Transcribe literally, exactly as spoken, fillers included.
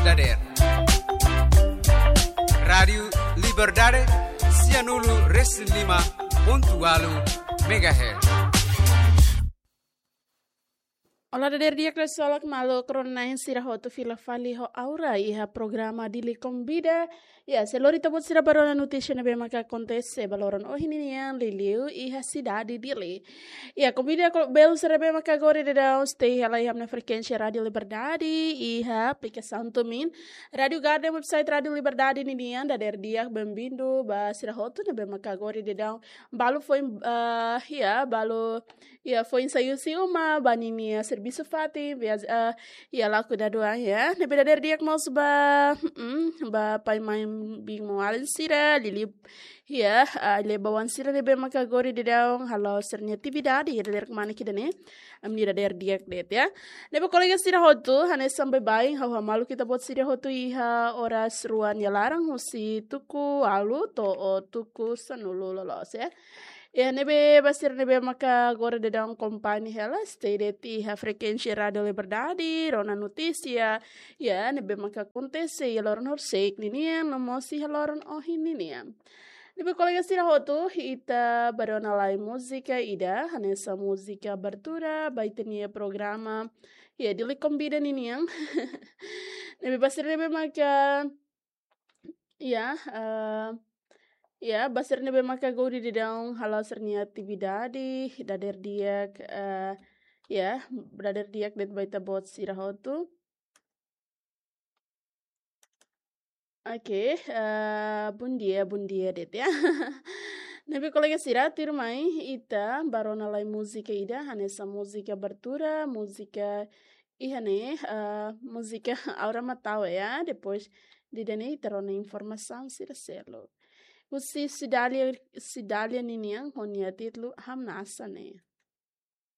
Dader. Rádiu Liberdade, sianulu resin lima pontu ualu megahertz. Olá, dader di'ak, kresol maluk rona-na'in sira hotu, fila fali ho Aura iha programa Dili Konvida. Ya, sei lori ita-boot sira ba rona notísia ne'ebé maka akontese ba loron ohin nian, liuliu iha sidade Dili. Ya, konvida ho belun sira ne'ebé maka agora daudaun stay hela iha ami-nia frekuénsia Rádiu Liberdade iha aplikasaun TuneIn, Rádiu Garden, website Rádiu Liberdade ninian. Dader di'ak, bem-vindo ba sira hotu ne'ebé maka agora daudaun balu foin, ah, ya, balu, ya, foin sai husi uma ba ninia servisu fatin, viaja, ah, ya, laku dadeer, ya. Ne'ebé dader di'ak mós ba, mm, ba pai, mãe, biin, maun-alin sira, liuliu, ya, ah, liuliu ba oan sira ne'ebé maka agora daudaun hala'o sira-nia atividade, ya, dader kemana ida-ne'e. Ami dader di'ak de'it, ya. Ne'ebé kolega sira hotu, hanesan baibain ha'u hamaluk ita-boot sira hotu iha oras rua nia laran husi tuku ualu to'o tuku sanulu loloos, ya. Ya, ne'ebé ba sira ne'ebé maka agora daudaun akompaña hela, stay de'it iha frekuénsia Rádiu Liberdade, rona notísia, ya, ne'ebé maka akontese iha loron horisehik ninian, no mós iha loron ohin ninian. Ne'ebé kolega sira hotu, ita ba rona lai múzika ida, hanesan múzika abertura ba ita-nia programa, ya, Dili Konvida ninian. Ne'ebé ba sira ne'ebé maka, ya, eh, ya, ba sira ne'ebé maka agora daudaun hala'o sira-nia atividade, dader di'ak, eh, ya, dader di'ak de'it ba ita-boot sira hotu. Oke, eh, bondia, bondia de'it, ya. Ne'ebé kolega sira, tuirmai ita ba rona lai múzika ida, hanesan múzika abertura, múzika iha ne'e, eh, múzika Aura Mataue, ya. Depois de ida-ne'e ita rona informasaun sira seluk. Husi Cidália, Cidália ninian ho nia títulu Hamnasa Ne'e.